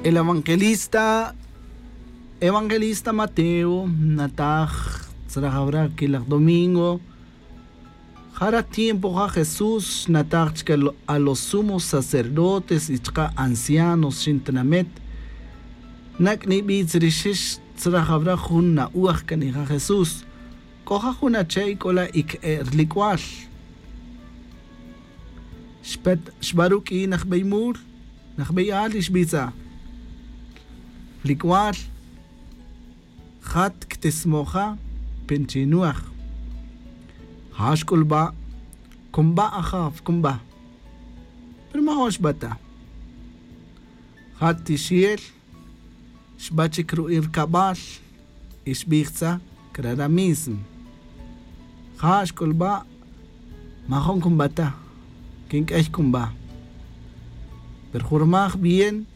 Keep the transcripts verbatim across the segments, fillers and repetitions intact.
El evangelista evangelista mateo nataj tzrajawra kilaj domingo. Jara tiempo ja jesús nataj chike a los sumos sacerdotes y chaka ancianos xin tinamet. Nak' nibitz rixix tzrajawra jun na'uaj kanija jesús. K'o ja jun ache' k'ola' ik e' rlik'wal. Xpet xba ruk'in ajbey mul najbey al y xbitza. Lik'wal jat ktismoja. Pinchinuaj ja xk'ulba'. Kunba' ajaf kunba'. Pero majo'n xbata. Jat tixel xba chik ru'in rkabal. Y xbij tza krara mismo. Ja xk'ulba'. Majo'n kunba' ta. Kink'ey kunba'. Pero jurmaj bien.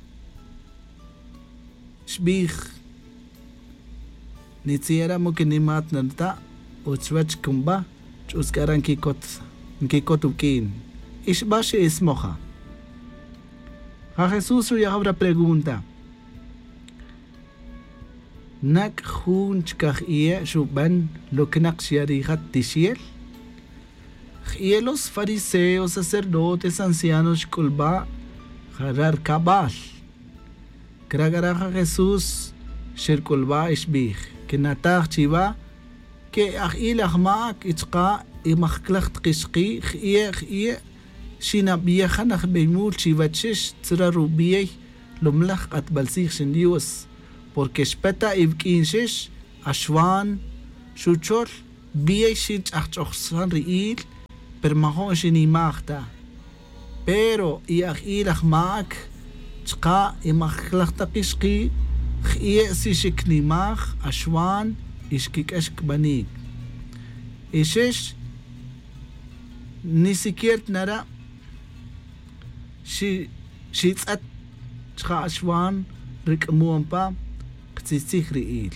Xbij nitziyara' mu kinimat narta'. Utz chuwech kunba' ch'utz k'ara' nkikot wuk'in. Y xba xe'ismoja. Ja jesús ruyajaw ra pregunta. Nak' jun chkaj iye' xuben luknak xya' rija' tixyel. J'iye' los fariseos sacerdotes ancianos xk'ulba' jara' rkabal. Krak'ara' ja jesús xerk'ulba' y xbij. Kinataj chiwa ke aj'il ajma'ak y chaka' imajclaj tak ixki'. J'iye' j'iye' xinabiyejan ajbey mul chiwech xix tzra rubiey lumlaj k'atbal tzij xin dios. Porque xpeta' iwuk'in xix axwan xuchol. Biyey xinch'ajch'ojsan ri'il. Pero majo'n xinimaj ta. Pero i aj'il ajma'ak chaka' imajclaj tak ixki'. J'iye' si xiknimaj axwan y xkik'ex kbanik. Y xix ni siquier tinara' xitz'et chaka' axwan rik'amon pa. Ktzitzij ri'il.